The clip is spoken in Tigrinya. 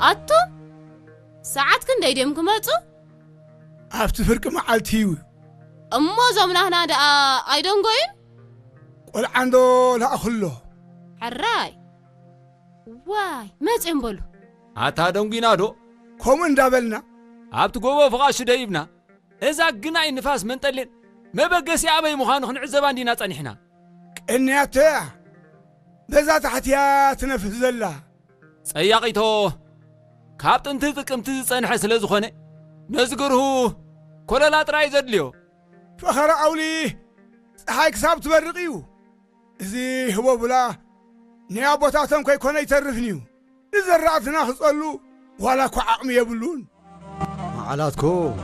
ኣቱም ሰዓት ክንደይ ድዮም ክመጹ? ኣብቲ ፍርቂ መዓልቲ እዩ። እሞ እዞም ናህና ደኣ ኣይደንጎዩን? ቆልዓንዶ ለኣኽሎ? ሕራይ። ዋይ፣ መጺኦም በሉ። ኣታ ደንጒና ዶ? ከምኡ እንዳበልና ኣብቲ ጎቦ ፍቓሹ ደይብና፣ እዛ ግናይ ንፋስ መንጠሌን መበገሲኣ ኣበይ ምዃኑ ክንዕዘባ እንዲና ጸኒሕና። ቅንያቶ እያ። በዛ ታሕትያ ትነፍስ ዘላ። ጸያቒቶ ካብ ጥንቲ ጥቅምቲ ዝጸንሐ ስለ ዝኾነ፣ ነዚ ግርሁ ኮለላ ጥራይ ዘድልዮ። ፈኸራ ኣውሊ፣ ጸሓይ ክሳብ ትበርቕ እዩ። እዚ ህቦቡላ ናይ ኣቦታቶም ከይኮነ ኣይተርፍን እዩ። ንዘራእትና ክጸሉ ዋላ እኳ ዓቕሚ የብሉን። መዓላትኩም